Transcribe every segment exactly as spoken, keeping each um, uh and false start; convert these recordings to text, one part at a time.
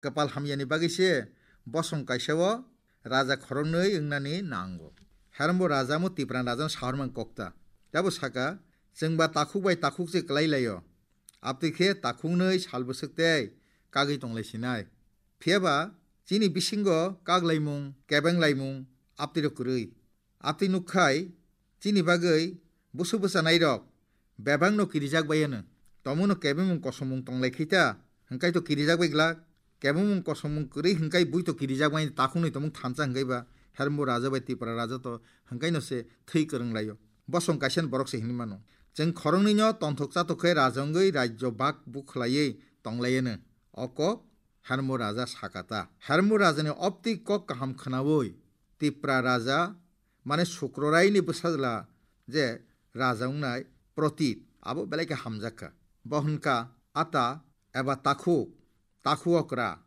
Kwpal hamyani bagwi se bosong kaisa o raja khoroknwi wngnani nango. Herombo raja mo Tipra rajano sahormang kokta. Tebo saka, "Chwngba takhuk bai takhuk se kwlai laio. Abtwi khe takhuknwi sal bwswk tei kagwi tonglai sinai. Phiyaba chini bisingo kak laimung, kebeng laimung abtwi rok kwrwi. Abtwi nukkhai chini bagwi busu bwchanai rok bebak no kirijak bai ano. Tomung no kebengmung kosomung tonglai khai ta, hwnkhe to kirijak bai glak. Kebengmung kosomung kwrwi hwnkhe bui to kirijak bai takhuknwi tomung thansa hwnkhe ba Herombo raja bai Tipra raja to hwnkhe no se thwi kwrwng laio. Bosong kaisa ni borok se hinwi mano. Chwng khoroknwi no tonthok chatok khe raja wngwi rajyo bak bukhlaiwi tonglai ano." O kok Herombo raja sakata. Herombo rajani opti kok kaham khwnawi Tipra raja, mane Sukroraini bwsajla je raja wngnai Protit, abo belai khe hamjakha. Bo hwnkha ata eba takhuk, takhu okra.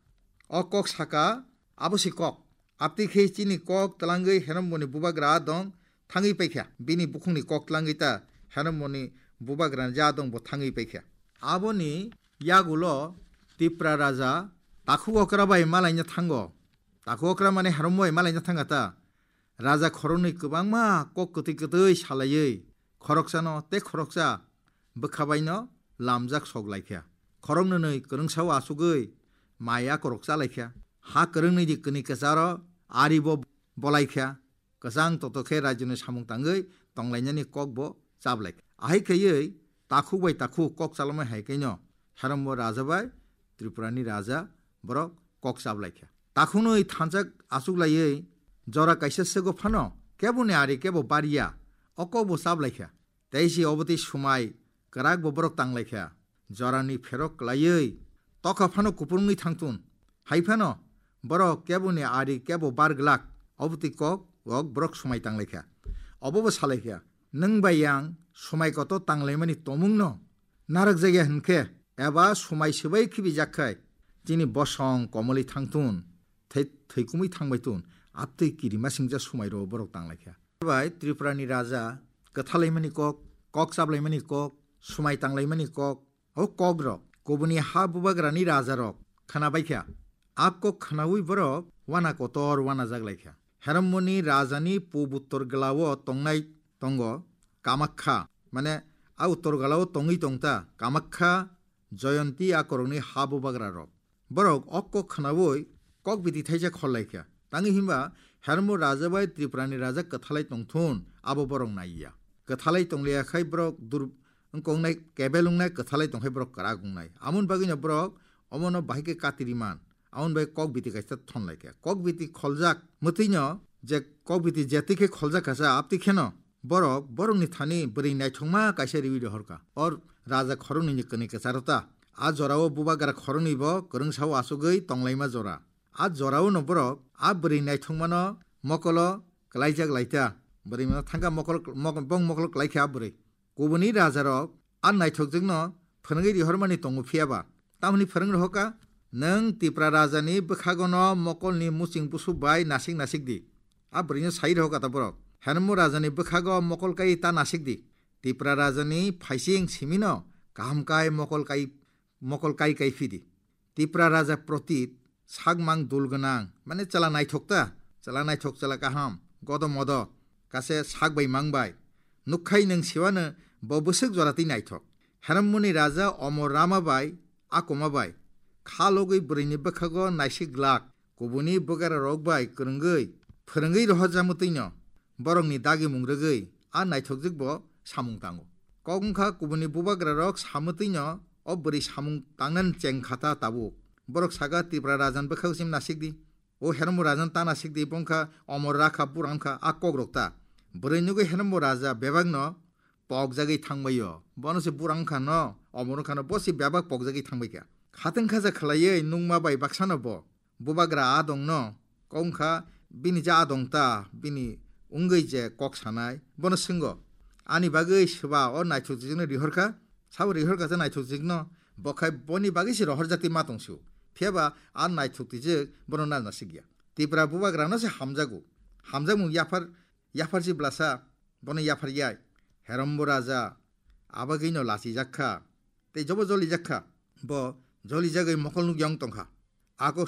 O kok saka, abo si kok. Abtwi khe chini kok twlangwi Heromboni bubagra dong thangwi paikha. Bini bukhukni kok twlangwi ta Heromboni bubagra ja dong bo thangwi paikha. Aboni yagulo Tipra raja takhu okra bai malaina thango. Takhu okra mane Herombo bai malaina thanga ta. Raja khoroknwi kwbangma kok kwtwi kwtwi salaiwi khoroksano tei khoroksa bwkha baino lamjak sok laikha. Khoroknwnwi kwrwngsao asugwi mai akorok chalaikha. Ha kwrwngnwi di kwnwi kwcharo ari bo bolaikha. Kwchang toto khe rajyoni samung tangwi tonglainani kok bo chablai. Ahai khaiwi takhuk bai takhuk kok chalamai hai khaino Herombo raja bai Tripurani raja borok kok chablaikha. Takhunwi thansa achuklaiwi jora kaisa sego phano keboni ari kebo barya o kok bo chablaikha. Tei si obotwi swmai kwrak bo borok tanglaikha. Jorani pherok kwlaiwi tokha phano kupulungwi thangtun. Hai phano borok keboni ari kebo bar glak, obotwi kok rok borok swmai tanglaikha. Obo bo salaikha, "Nwng bai ang swmai kotor tanglaimani tomungno narwkjakya hwnkhe, eba swmai swbai khibijak khai, chini bosong komolwi thangtun, thei-, thwikumwi thangbaitun, abtwi kirima singcha swmai rwo," borok tanglaikha. Bai Tripurani raja kwthalaimani kok, kok chablaimani kok, swmai tanglaimani kok, o kokrok kubuni ha bubagrani rajarok khwnabaikha. A kok khwnaui borok wana kotor wanajak laikha. Heromboni rajani pub uttor glao tongnai tongo Kamakkha, mane a uttor glao tongwi tongta Kamakkha, Jayanti a korokni ha bubagrarok. Borok o kok khwnaui kok biti thaisa khol laikha. Tangwi himba Heromboni raja bai Tripurani raja kwthalai tongthun abo borok naiya. Kwthalai tongliya khai borok dur-, wngkoknai kebel wngnai, kwthalai tongkhai borok kwrak wngnai. Amoni bagwino borok omono bahai khe katiriman. Amoni bai kok biti kaisa thon laikha. Kok biti kholjak mwtwino je kok biti jetwi khe kholjak kha sa, abtwi kheno borok borokni thani bwrwi naithokma kaisa riwi rohorkha. O raja khoroknwini kwnwi kwcharo ta. A jorao bubagra khoroknwi bo kwrwngsao achugwi tonglaima jora. A jorao no borok a bwrwi naithokmano mokolo kwlaijak laita. Bwrwi mano thangkha mokol, mok-, bong mokolo kwlaikha a bwrwi. Kubuni rajarok a naithokjwkno phwrwngwi rihormani tongo, phiyaba tamoni phwrwng rohorkha, "Nwng Tipra rajani bwkhagono mokolni muching busu bai nasik nasik di." A bwrwino sai rohorkha ta borok, "Heromboni rajani bwkhago mokol kai ta nasik di. Tipra rajani phaising simino kaham kai mokol kai, mokol kai kai phidi." Tipra raja Protit, sakmang dul gwnang, mane chwla naithok ta, chwla naithok, chwla kaham, godo modo, kase sak bai mang bai. Nukkhai nwng siwano bo bwswk jora twi naithok. Heromboni raja Omor Rama bai, Akoma bai, kha logwi bwrwini bwkhago naisik glak, kubuni bwgararok bai kwrwngwi, phwrwngwi rohorjak mwtwino, borokni dagimung rwgwi a naithokjwk bo samung tango. Kok wngkha kubuni bubagrarok samwtwino o bwrwi samung tangnani cheng kha ta tabuk. Borok saka, "Tipra rajan bwkhago chini nasik di. O Heromboni rajan ta nasik di, bo wngkha Omor Rakha, bura wngkha," a kokrok ta. Bwrwi nugwi Heromboni raja bebakno pokjagwi thangbaio. Bono se bura wngkha no, Omor wngkha no, bo se bebak pokjagwi thangbaikha. Khatang khaja khwlaiwi nungma bai baksano bo bubagra adongno kok wngkha, bini je adong ta, bini wngwi je kok sanai, bono swngo, "Ani bagwi swba o naithokjwkno rihorkha?" Sabo rihorkha je naithokjwkno, bo khai boni bagwi se rohorjak twi ma tong sio. Phiyaba a naithok twijwk bono nal nasikya. Tipra bubagrano se hamjago. Hamjakmung yaphar, yaphar si blasa, bono yaphar yai. Herombo raja abagwino lachijak kha. Tei jobo jolijak kha. Bo jolijagwi mokol nukya wng tong kha. A kok